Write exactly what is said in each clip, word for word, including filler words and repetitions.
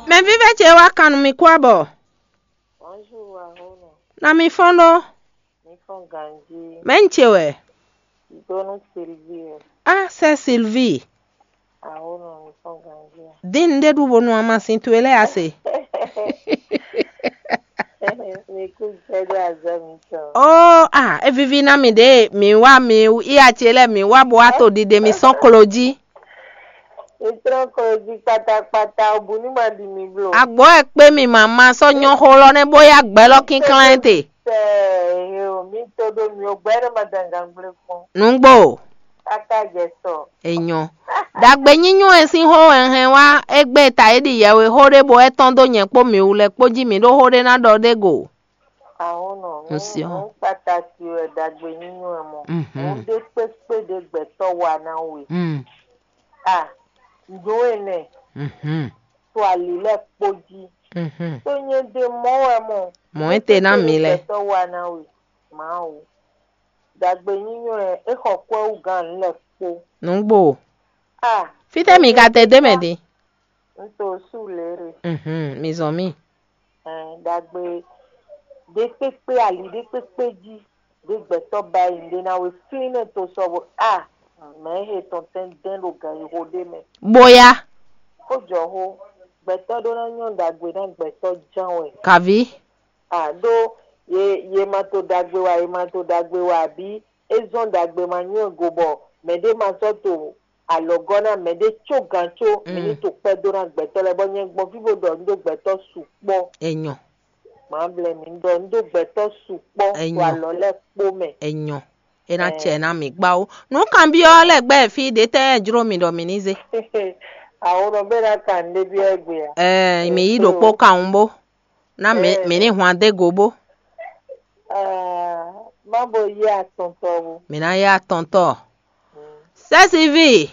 Mɛ vívɛ́ ce wá kan nú mi kú abɔ. Bonjour, Ahono. Na mi fɔ́n ɖó. Mi fɔ́n ganjí. Mɛ ń ce wɛ? Donu Sylvie. Ah, c'est Sylvie. Ahono, mi fɔ́n ganjí. Din ɖe ɖu bonu amasin towe lɛ́ɛ ase. Mi kú jɛ ɖo azɔ mitɔn. Oh, ah, e vivi na mi ɖe, mi wá mi iya ce lɛ mi wá bo wá to ɖiɖe mi sɔn klo jí. Mi trɔn klo jí kpatakpata, obu ní ma ɖi mi blo. Agbɔ e kpé mi mama sɔ nyɔ xo lɔ nɛ bó ya gbɛ lɔ kínklán te. Tɛ ehe o, mi to ɖo mi o, gbɛ ɖe ma dangan gblé kpɔn. Nǔgbò. Kaka jɛ sɔ. Enyɔ. Ɖagbe nyínyɔ́ e sín xó wɛ un hɛn wá égbé ta é ɖi yɛwe xó ɖé bó é tɔ́n dó nyɛ kpó mǐ wú lɛ́ kpó jí mǐ ɖó xó ɖé ná ɖɔ ɖé go. Ahɔnɔ, Un nǔ siɔ. Nǔ kpataki wɛ ɖagbe nyínyɔ́ ɛ mɔ. Mhm. Nǔ ɖé kpékpé ɖé gbɛtɔ́ wa ná we. Mm. A, nǔ énɛ́, Mhm. To ali lɛ́ɛ kpó jí. Mhm. Tó nyɛ ɖe mɔ̌ wɛ mɔ. Mɔ̌ e te ná mi lɛ. Gbɛtɔ́ wa ná we. Mawu. Ɖagbe nyínyɔ́ ɛ, é xɔ kwɛ́ wú gán nǔ lɛ́ɛ kpó. Nǔgbò. A, Fítɛ́ mi ka te dé mɛ din? Un to sú lě ɖe. Mhm, mi zɔn mì. Ɛn, ɖagbe ɖé kpékpé ali ɖé kpékpé jí ɖé gbɛtɔ́ ba yi ɖé ná we flín nɛ to sɔ bo a mɛ he tɔn tɛn dɛn ɖo gan yi xo ɖé mɛ. Boya. Kó jɔ xó, gbɛtɔ́ ɖó ná nyɔ́ ɖagbe ná gbɛtɔ́ ján wɛ. Kaví. A ɖó ye ye ma to ɖagbe wa ye ma to ɖagbe wa abǐ é zɔ́n ɖagbe ma nyɔ́ ɛ go bɔ mɛɖé ma sɔ́ to alɔgɔ́ ná mɛɖé có gǎn có mi ní to kpɛ́ dó ná gbɛtɔ́ lɛ́ɛ bɔ nyɛ gbɔn fí bó ɖɔ un ɖó gbɛtɔ́ sukpɔ́. Enyɔ. Mǎ blɛ́ mi un ɖɔ un ɖó gbɛtɔ́ sukpɔ́ to alɔ lɛ́ɛ kpó mɛ. Enyɔ. É ná cɛ ná mǐ gbá ó. Nǔ kanbyɔ́ lɛ́ɛ gbɛ́ fí ɖě tɛ́ jló mi ɖɔ mǐ ní zé? Àwọn ọ̀nà bẹ́ẹ̀ ná kà ń débi ẹgbẹ́ à. Ɛɛ, mǐ yí ɖokpó kawun bó. Ná mǐ mǐ ní hwan dé go bó. Má bo yí atɔntɔ bó. Mǐ ná yá atɔntɔ. Sɛ́siví.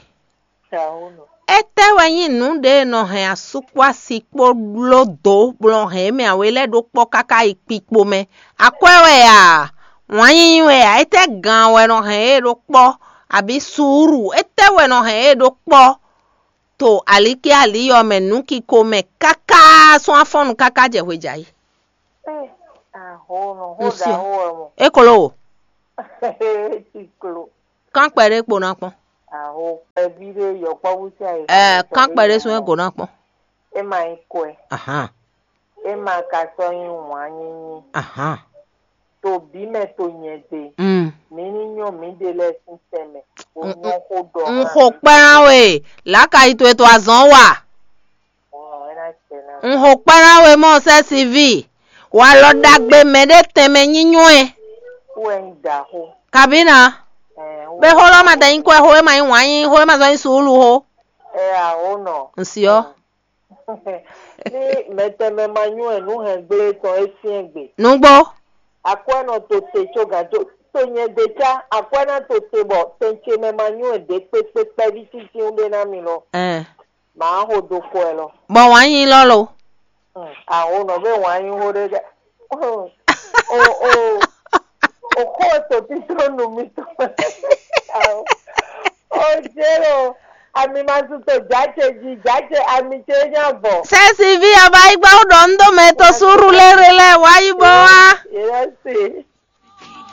Étɛ́ wɛ nyí nǔ ɖě e nɔ hɛn asú kpó asi kpó bló dǒ bɔ nɔ hɛn émɛ awe lɛ́ɛ ɖó kpɔ́ káká yi kpikpo mɛ? Akwɛ́ wɛ a? Wǎn yíyí wɛ a? Étɛ́ gan wɛ nɔ hɛn yě ɖó kpɔ́, abǐ suúlu? Étɛ́ wɛ nɔ hɛn yě ɖó kpɔ́ to alíké alí ɔ́ mɛ nǔkiko mɛ káká sɔ́ afɔ́nnu káká jɛ hwejayi? Ahɔ̌nɔ, xó ɖaxó wɛ mɔ. É klo o. Ciklo. Kán kpɛɖé kpo ná kpɔ́n. Aho kpɛví ɖé yɔkpɔ́vú sín ayǐ. Ɛɛ, kán kpɛɖé sún é go ná kpɔ́n. É ma nyí kwɛ. Ahán. É ma ka sɔ́ nyí wǎn nyínyí. Ahán. To bǐ mɛ to nyɛ gbe. Mm. Mǐ ní nyɔ́ mǐɖée lɛ́ɛ sín tɛnmɛ. Bó nyɔ́ xó ɖɔ. Un xo kpɛ́ ná we, lǎkayi towe to azɔ̌ wa. Ɔ́, é ná cɛ ná. Un xo kpɛ́ ná we mɔ sɛ́ siví. Walɔ ɖagbe mɛ ɖé tɛnmɛ nyínyɔ́ ɛ. Wú ɛ nyí dǎxó. Kabǐ ná. Ɛɛ, wú Bé xó lɔ́ ma dɛ nyí kwɛ́ xó, é ma nyí wǎn nyí xó, é ma zɔ́n nyí suúlu xó. Ɛ aho nɔ. Un si ɔ́. Ní mɛtɛnmɛ ma nyú ɛ nú hɛn gblé tɔn é syɛ́n gbe. Nǔgbó. Akwɛ́ nɔ to te có gǎn tó. To nyɛ ɖe cá, akwɛ́ ná to te bɔ tɛn ce mɛ ma nyú ɛ ɖě kpékpé kpɛví títí ɖé ná mi lɔ. Ɛɛ. Mǎ xo ɖo kɔ ɛ lɔ. Bɔ wǎn nyi lɔ lo. Aho nɔ bɛ wǎn nyi xo ɖe ɖe. O o o xo to títí nu mi tɔn. O jero ami ma su to jace ji jace ami ce nya vɔ. Sɛsivi aba yi gba ɖɔ ŋdɔ mɛ to suru lere lɛ wa yi bɔ wa. Yɛrɛ se.